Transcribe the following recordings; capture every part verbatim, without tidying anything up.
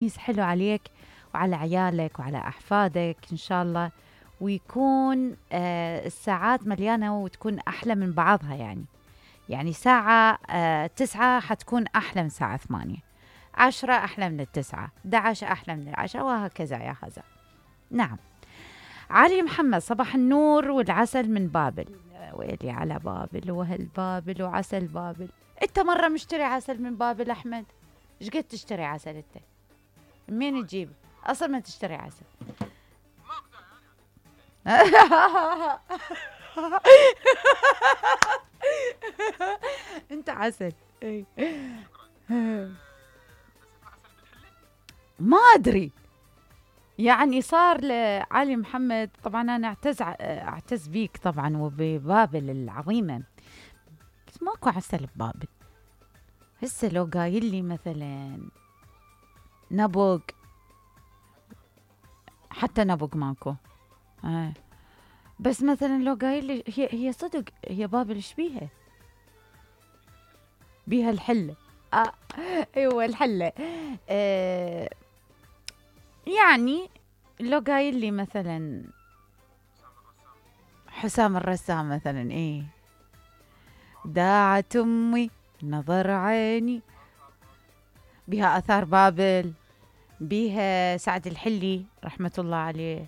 حلو عليك وعلى عيالك وعلى أحفادك إن شاء الله، ويكون آه الساعات مليانة وتكون أحلى من بعضها. يعني يعني ساعة آه تسعة حتكون أحلى من ساعة ثمانية، عشرة أحلى من التسعة، دعش أحلى من العشرة، وهكذا يا هذا. نعم. علي محمد، صباح النور والعسل من بابل. ويلي على بابل وهل بابل وعسل بابل. انت مرة مشتري عسل من بابل أحمد؟ ايش قد تشتري عسل انت؟ منين تجيب؟ اصلا ما تشتري عسل. انت عسل. ما ادري، يعني صار لعلي محمد. طبعا انا اعتز اعتز بيك طبعا وببابل العظيمه، بس ماكو عسل ببابل. هسه لو قايل لي مثلا نبق، حتى نبق ماكو. آه. بس مثلا لو قايل لي هي هي صدق هي بابل ايش بيها؟ بيها الحله. آه. ايوه الحله. آه. يعني لو قايل لي مثلا حسام الرسام مثلا، ايه داعت امي نظر عيني، بها اثار بابل، بها سعد الحلي رحمه الله عليه.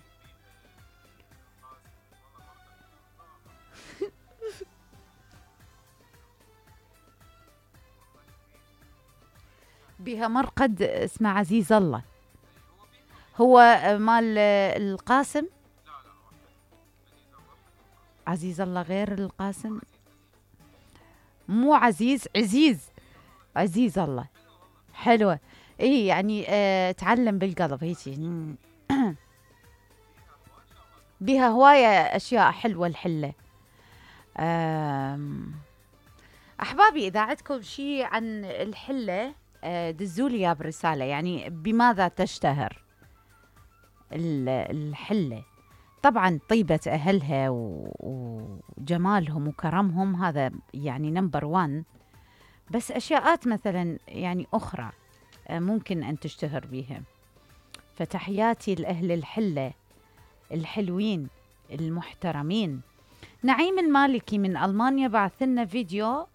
بها مرقد اسمه عزيز الله، هو مال القاسم. عزيز الله غير القاسم، مو عزيز، عزيز عزيز الله. حلوة. ايه يعني اه تعلم بالقلب هيك. بها هواية اشياء حلوة الحلة. احبابي اذا عندكم شيء عن الحلة اه دزولي يا برسالة، يعني بماذا تشتهر الحلة؟ طبعا طيبة أهلها وجمالهم وكرمهم، هذا يعني نمبر وان. بس أشياءات مثلا يعني أخرى ممكن أن تشتهر بها. فتحياتي لأهل الحلة الحلوين المحترمين. نعيم المالكي من ألمانيا بعث لنا فيديو.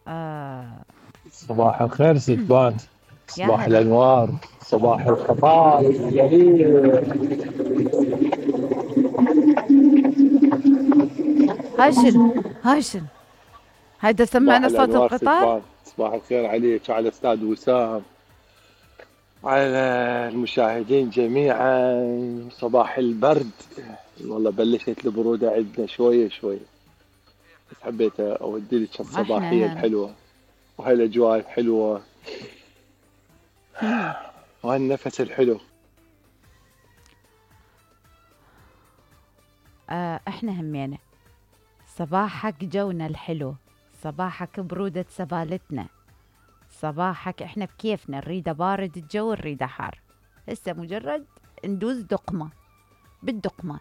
آه صباح الخير ستبان، يا صباح هلا. الأنوار، صباح الخطاب الجميل. هاشن هاشن، هيدا صباح سمعنا صوت الأنوار القطار. ستبان، صباح الخير عليك وعلى أستاذ وسام، على المشاهدين جميعا. صباح البرد، والله بلشت البرودة عندنا شوية شوية، بس حبيت أودي لك الصباحية احنا هنا. الحلوة وهالأجواء الحلوة وهالنفس الحلو. آه احنا همينا صباحك جونا الحلو، صباحك برودة سبالتنا، صباحك احنا بكيفنا، نريده بارد الجو نريده حار. هسه مجرد ندوز دقمة بالدقمة،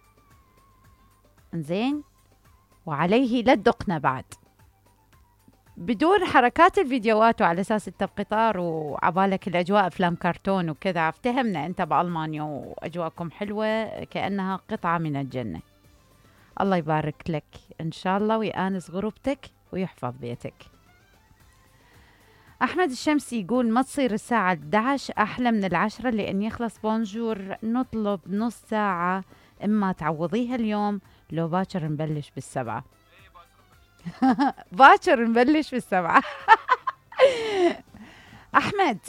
انزين، وعليه لا تدقنا بعد بدون حركات الفيديوهات، وعلى اساس انت بقطار وعبالك الاجواء افلام كرتون وكذا. افتهمنا انت بالمانيا واجواءكم حلوة كأنها قطعة من الجنة. الله يبارك لك ان شاء الله ويآنس غربتك ويحفظ بيتك. أحمد الشمسي يقول ما تصير الساعة أحد عشر أحلى من العشرة لأن يخلص بونجور، نطلب نص ساعة، إما تعوضيها اليوم لو باكر نبلش بالسبعة. باكر نبلش بالسبعة. أحمد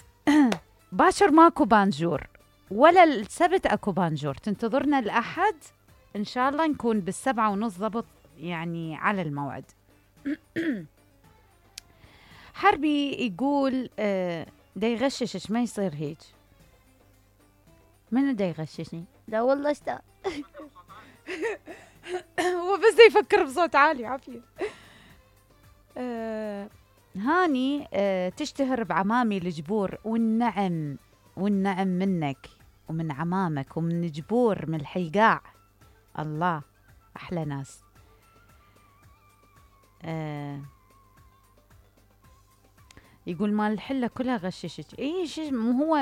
باكر ماكو بانجور، ولا السبت أكو بانجور، تنتظرنا الأحد إن شاء الله نكون بالسبعة ونص ضبط، يعني على الموعد. حربي يقول آه دا يغششش، ما يصير هيك. منو دا يغششني؟ لا والله استا. هو بس دا يفكر بصوت عالي عافية. آه هاني آه تشتهر بعمامي الجبور، والنعم والنعم منك ومن عمامك ومن جبور من الحيقاع. الله أحلى ناس. آه يقول مال الحلة كلها غششك. اي شو مو هو